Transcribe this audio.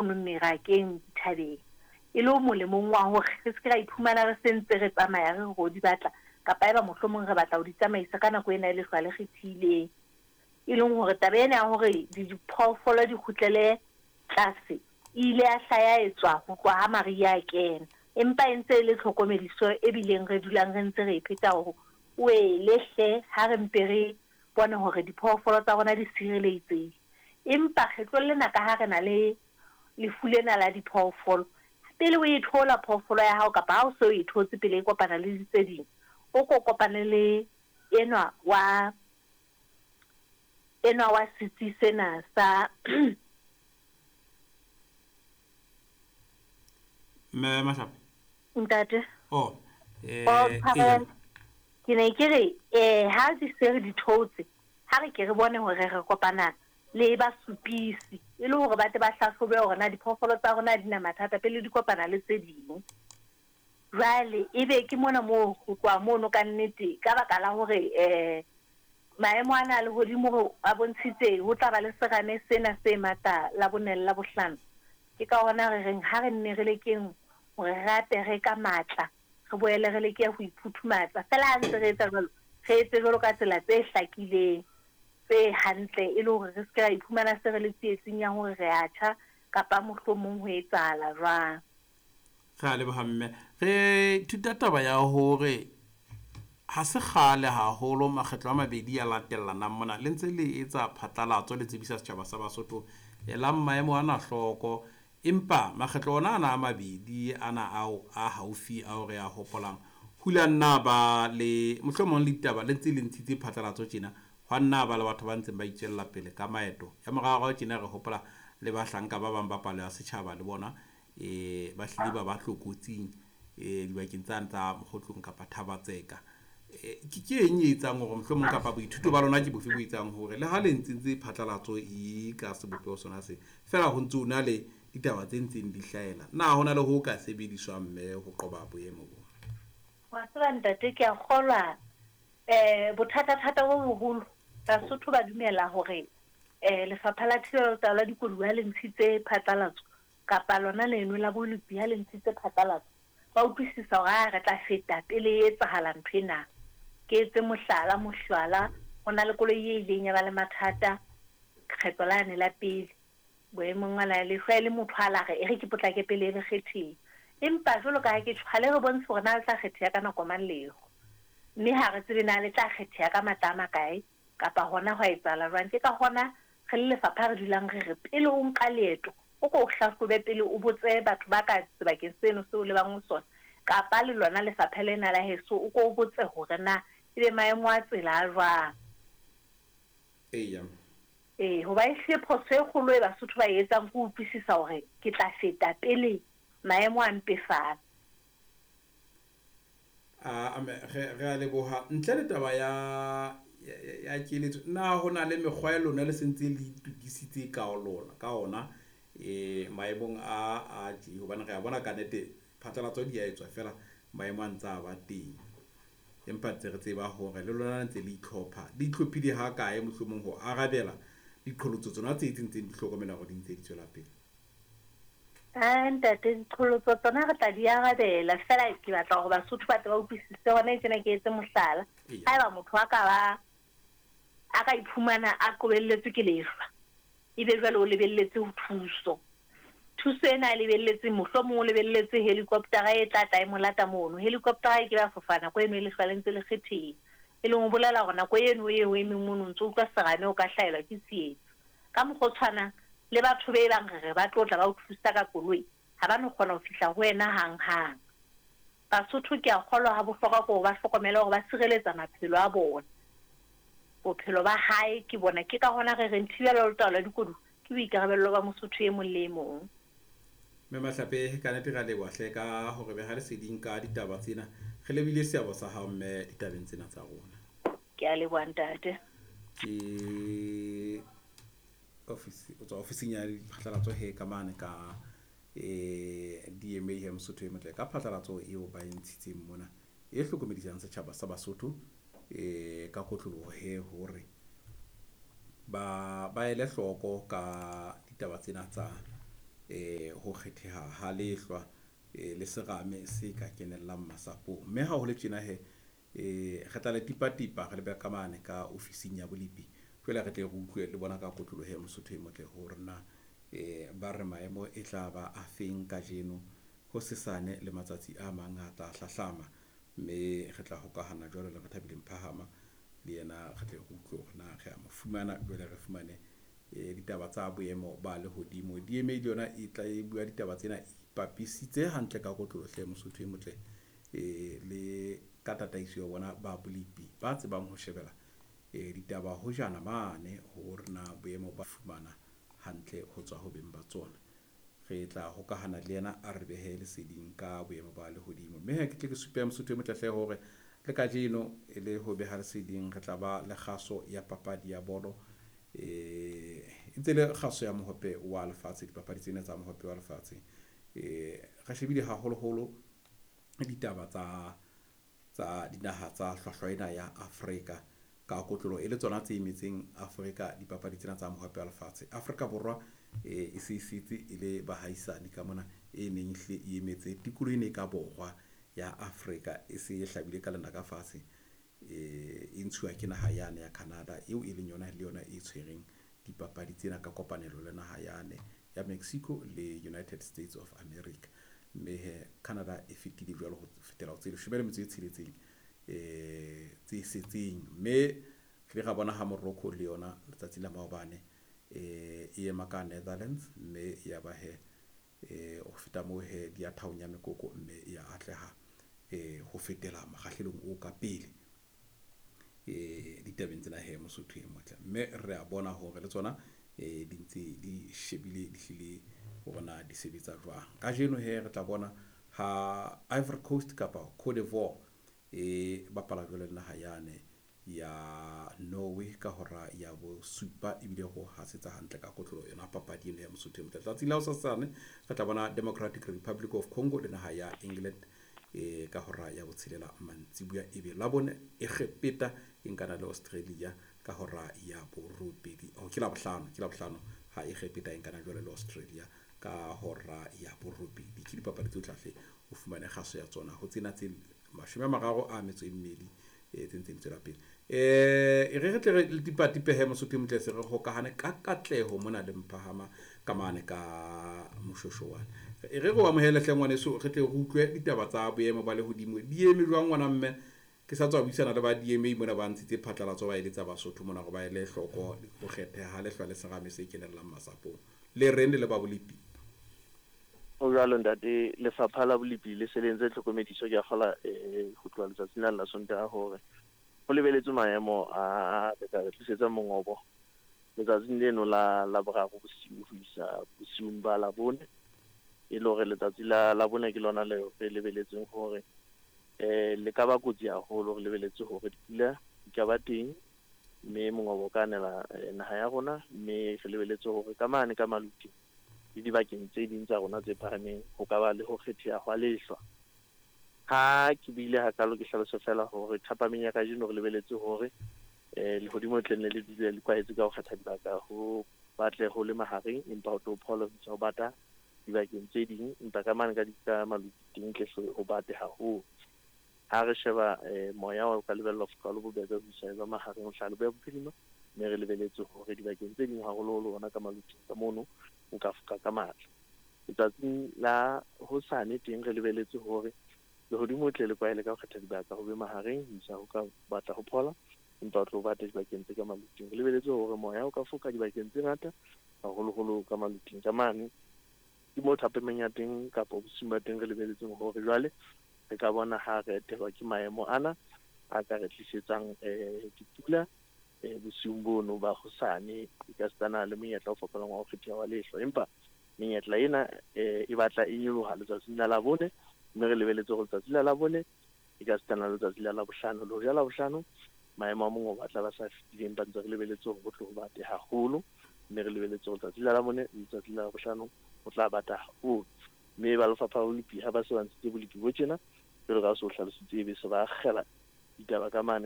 Mono merakeng dithabeng, e le molemong wa hore re se ke ra iphumana re se ntse re tsamaya re re ro di batla, kapa haeba mohlomong re batla ho di tsamaisa ka nako ena e lehlwa le kgethileng. E leng hore taba ena ya hore diphoofolo di kgutlele tlase e ile ya hla ya etswa ho tloha ha mariha a kena. Empa e ntse e le tlhokomediso e bileng re dulang re ntse re e pheta hore oele hle ha re mpe re bone hore diphoofolo tsa rona di sireletsehile. Empa kgetlong lena ka ha re na le lefu lena la diphoofolo, pele o e thola phoofolo ya hao kapa ha o se o e thotse pele e kopana le tse ding, o ko kopane le enwa wa enwa wa setsi sena sa Mme Mahlape. Ntate. Oh, eh, Oh, tshwarelo. Ke ne ke re eh ha di se re di thotse, ha re ke re bone hore re kopana le basupisi e le hore ba tle ba hlahlobe hore na diphoofolo tsa rona di na mathata pele di kopana le tse ding. Jwale ebe ke mona moo ho tloha mono ka nnete ka baka la hore um maemo ana a lehodimo a bontshitse ho tla ba le serame sena se matla Labone le Labohlano. Ke ka hona re reng ha re nne re lekeng hore re apere ka matla, re boele re leke ho iphuthumatsa. Feela ha ntse re etsa jwalo, re etse jwalo ka tsela tse hlakileng, tse hantle e le hore re se ke ra iphumana se re le tsietsing ya hore re a tjha kapa mohlomong ho etsahala jwang. Re a leboha mme. Re ithuta taba ya hore ha se kgale haholo makgetlo a mabedi a latellanang mona le ntse le etsa phatlalatso le tsebisa setjhaba sa Basotho elang maemo ana hloko. Empa makgetlo ona ana a mabedi ana ao a haufi ao re a hopolang, ho ile ha nna ba le mohlomong le ditaba le ntse le ntshitse phatlalatso tjena, hwa nna ba le batho ba ntseng ba itswella pele ka maeto. Ya moraorao tjena re hopola le bahlanka ba bang ba palo ya setjhaba le bona e ba hlile ba ba tlokotsing e dibakeng tsane tsa Mokgotlong kapa Thaba-Tseka. Ke ke eng e etsang hore mohlomong kapa boithuto ba lona ke bofe bo etsang hore le ha le ntse ntse phatlalatso e ka sebopeho sona se fela ho ntse ho na le ditaba tse ntseng di hlahela, na ho na le ho ka sebediswang mme ho qoba boemo bo? Wa tseba ntate, ke a kgolwa um bothata-thata bo boholo Basotho ba dumela hore um Lefapha la Thibelo le Taolo ya Dikoduwa ha le ntshitse phatlalatso kapa lona leno la bolopi ha le ntshitse phatlalatso, ba utlwisisa hore aa re tla feta pele e etsahala ntho ena. Ke etse mohlala, mohlala, ho na le koloi e ileng ya ba le mathata kgetlo lane la pele boemong ana lehlwa e le motho a la re e re ke potlake pele e re kgetheha. Empa jwalo ka ha ke tjho, ha le re bontshe hore na le tla kgetheha ka nako mang leho. Mme ha re tsebe na le tla kgetheha ka matla a makae kapa hona hwa etsahala jwang. Ke ka hona re le lefapha re dulang re re pele o nka leeto, o ko o hlahlobe pele o botse batho ba ka sebakeng seno seo o lebang ho sona, kapa le lona lefapha lena la heso o ko o botse hore na ebe maemo a tsela a jwang. Eya. Ee, hoba ehlile phoso e kgolo e Basotho ba e etsang ke ho utlwisisa hore ke tla feta pele maemo a mpefala. A me re re a leboha. Ntle le taba ya ya keletso, na ho na le mekgwa e lona le sentse le itokisitse ka lona ka ona maemong a a tje? Hobane re a bona ka nnete phatlalatso di a etswa feela maemo a ntse a ba teng. Empa ntse re tseba hore le lona le ntse le itlhopha. Le itlhophile ha kae mohlomong ho arabela diqholotso tsona tse tse ntseng di hlokomela hore di ntse di tswela pele? Ae ntate, diqholotso tsona re tla di arabela, feela ke batla hore Basotho ba tle ba utlwisise hona tjena ke etse mohlala. Haeba motho a ka ba a ka iphumana a qobelletswe ke lehlwa, ebe jwale o lebelletse ho thuso. Thuso ena a lebelletseng mohlomong o lebelletse helicopter-a e tla tla e mo lata mono. Helicopter-a e ke ba fofa nako eno e lehlwa le ntse le kgetheha. E leng ho bolela hore nako eno eo o emeng mono o ntso utlwa serame o ka hlahelwa ke tsietsi. Ka mokgwa o tshwanang, le batho be bang re re ba tlo tla ba o thusa ka koloi, ha ba no kgona ho fihla ho wena hanghang. Basotho ke a kgolwa ha bohlokwa ke hore ba hlokomele hore ba sireletsa maphelo a bona. Bophelo ba hae ke bona. Ke ka hona re reng thibelo le taolo ya dikoduwa ke boikarabello ba Mosotho e mong le e mong. Mme Mahlape, ka nnete re a leboha hle ka ho re beha leseding ka ditaba tsena. Re lebohile seabo sa hao mme ditabeng tsena tsa rona. Ke a leboha ntate. Ke office o tswa ofising ya diphatlalatso he ka mane ka DMA he Mosotho e motle ka phatlalatso eo ba e ntshitseng mona e hlokomedisang setjhaba sa Basotho ka kotloloho he hore ba ba ele hloko ka ditaba tsena tsa Ho kgetheha ha lehlwa le serame se ka kenellang masapong. Mme ha ho le tjena he, re tla le tipatipa re lebe ka mane ka ofising ya bolepi. Jwale re tle re utlwe le bona ka kotloloho he Mosotho e motle hore na ba re maemo e tla ba a feng kajeno, hosesane le matsatsi a mang a tla hlahlama. Mme re tla hokahana jwalo le Rethabile Mphahama le yena re tle re utlwe hore na re a mo fumana, jwale re fumane ditaba tsa boemo ba lehodimo. DMA le yona e tla e bua ditaba tsena e ipapisitse hantle ka kotloloho hle Mosotho e motle, le ka tataiso ya bona ba bolepi ba tsebang ho shebela ditaba hojana mane hore na boemo ba fumana hantle ho tswa ho beng ba tsona. Re tla hokahana le yena a re behe leseding ka boemo ba lehodimo. Mme he ke tle ke supe Mosotho e motle hle hore le kajeno e le ho beha leseding re tla ba le kgaso ya papadi ya bolo, e ntse le kgaso ya mohope wa lefatshe, dipapadi tsena tsa mohope wa lefatshe. Re shebile haholoholo ditaba tsa dinaha tsa hlwahlwa ena ya Afrika ka kotloloho e le tsona tse emetseng Afrika dipapadi tsena tsa mohope wa lefatshe. Afrika Borwa e se setse e le bahaisane ka mona e neng ehlile e emetse tikoloho ena e ka borwa ya Afrika, e se e hlabile ka lenaka fatshe, e ntshuwa ke naha yane ya Canada eo e leng yona le yona e tshwereng dipapadi tsena ka kopanelo le naha yane ya Mexico le United States of America. Mme he Canada e fetile jwalo ho fetela ho tse 16 tse setseng. Mme re ile ra bona ha Morocco le yona letsatsi la maobane e ema ka Netherlands, mme ya ba he ho feta moo he di ya thaong ya mekoko, mme ya atleha ho fetela mokgahlelong o ka pele ditabeng tsena he Mosotho e motle. Mme re a bona hore le tsona di ntse di shebile di hlile hore na di sebetsa jwang. Kajeno he re tla bona ha Ivory Coast kapa Cote d'Ivoire e bapala jwale le naha yane ya Norway ka hora ya bosupa, ebile ho hasetsa hantle ka kotloloho yona papadi eno ya Mosotho e motle. Tsatsing la hosasane re tla bona Democratic Republic of Congo le naha ya England ka hora ya botshelela mantsibuya, ebe Labone Egepeta e nkana le Australia ka hora ya borobedi. Oh, ke Labohlano ha Egepeta e nkana jwale le Australia ka hora ya borobedi. Ke dipapadi tsohle hle o fumane kgaso ya tsona ho tsena tse 32 tse ntseng di tswela pele. E re tle re tipatipehe Mosotho e motle, se re hokahane ka katleho mona le Mphahama ka mane ka Moshoeshoe. E re re o amohele hle ngwaneso, re tle re utlwe ditaba tsa boemo ba lehodimo di eme jwang ngwana mme. Ke sa tswa buisana le ba DMA mona ba ntshitse phatlalatso ba eletsa Basotho mona hore ba ele hloko ho kgetheha ha lehlwa le serame se kenellang masapong. Le reng le le ba bolepi? Ho jwalo ntate, lefapha la bolepi le se le entse tlhokomediso ke a kgola ho tloha letsatsing la Sontaha hore ho lebeletswe maemo a re ka re tlisetsa mongobo letsatsing leno la Laboraro bosiu ho isa bosiung ba Labone. E le hore letsatsi la Labone ke lona le re lebeletseng hore le ka ba kotsi haholo. Re lebeletse hore dipula di ka ba teng mme mongobo o ka nela naha ya rona, mme re lebeletse hore ka mane ka Maluti le dibakeng tse ding tsa rona tse phahameng ho ka ba le ho kgetheha hwa lehlwa. Ha ke buile hakalo ke hlalose fela hore thapameng ya kajeno re lebeletse hore lehodimo tle nne le dule le kwahetse ka ho kgetha dibaka ho batle ho le mahareng, empa ho tlo phola ho isa ho bata dibakeng tse ding, empa ka mane ka Maluti teng tle hle ho bate haholo. Ha re sheba moya o ka lebellwa ho foka le bobebe ho isa ba mahareng ho hlaha leboya bophirima, mme re lebeletse hore dibakeng tse ding haholoholo hona ka Maluti ka mono o ka foka ka matla. Letsatsing la hosane teng re lebeletse hore lehodimo tle le kwahele ka ho kgetha dibaka ho be mahareng ho isa ho ka batla ho phola, empa o tlo bata dibakeng tse ka Maluting. Re lebeletse hore moya o ka foka dibakeng tse ngata haholoholo ka Maluting ka mane. Ke moo thapameng ya teng kapa bosiung ba teng re lebeletseng hore jwale re ka bona ha re etelwa ke maemo ana a ka re tlisetsang dipula bosiung bono ba hosane, e ka sitana le monyetla o fokolang wa ho kgetheha wa lehlwa. Empa menyetla ena e batla e nyoloha letsatsing la Labone, mme re lebeletse hore letsatsi la Labone e ka sitana le letsatsi la Labohlano. Le hoja Labohlano maemo a mongobo a tla ba sa fetileng, ba ntse re lebeletse hore ho tlo ho bate haholo, mme re lebeletse hore letsatsi la Labone le letsatsi la Labohlano ho tla bata haholo. Mme ba lefapha la bolepi ha ba se ba ntshitse bolepi bo tjena, jwalo ka ha se o hlalositse, ebe se ba akgela ditaba ka mane.